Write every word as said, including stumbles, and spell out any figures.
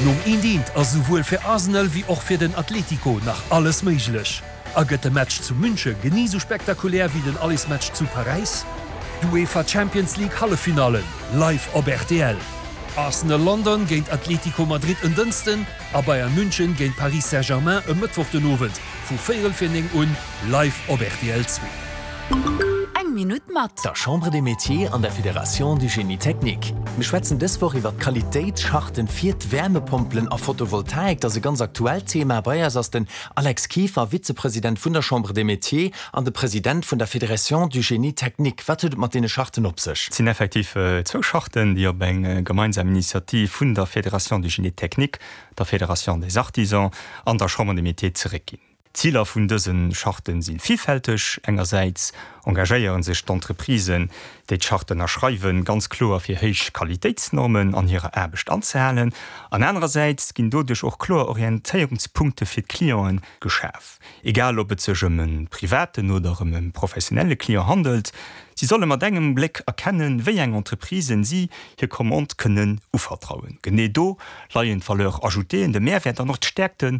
Nom eent eent ass souwuel fir Arsenal wéi och fir den Atlético nach alles méiglech. A gëtt de Match zu Münche genee sou spektakulär wéi den Allesmatch zu Paräis? D'UEFA Champions League Halleffinallen live op R T L. Arsenal London géint Atlético Madrid en Dënschden a Bayern München géint Paris Saint-Germain e Mëttwoch den Owend vu véierel vir néng un live op R T L zwee. Eng Minutt mat der Chambre des Métiers an der Fédération du Génie Technique. Mir schwätzen dës Woch iwwer Qualitéitscharten fir d'Wärmepompelen a Photovoltaik. Dat ass e ganz aktuellt Thema. Bei eis ass den Alex Kieffer, Vizepresident vun der Chambre des Métiers an de President vun der Fédération du Génie Technique. Wat huet et mat deene Charten op sech? Et sinn effektiv äh, zwou Charten, déi op eng äh, gemeinsam Initiativ vun der Fédération du Génie Technique, der Fédération des Artisans an der Chambre des Métiers zeréckginn. Ziler vun dëse Charten si villfälteg. Engersäits engagéieren sech d'Entreprisen, déi d'Charte ënnerschreiwen, ganz kloer fir héich Qualitéitsnormen an hirer Aarbecht anzehalen. An anerersäits ginn doduerch och kloer Orientéierungspunkte fir d'Clienten geschaf. Egal ob et sech ëm e privaten oder ëm e professionelle Client handelt, si solle mat engem Bléck erkennen, wéi eng Entreprisen si hir Commande kënnen uvertrauen. Genee do leien d'Valeur ajoutée, de Mehrwert an och d'Stäerkte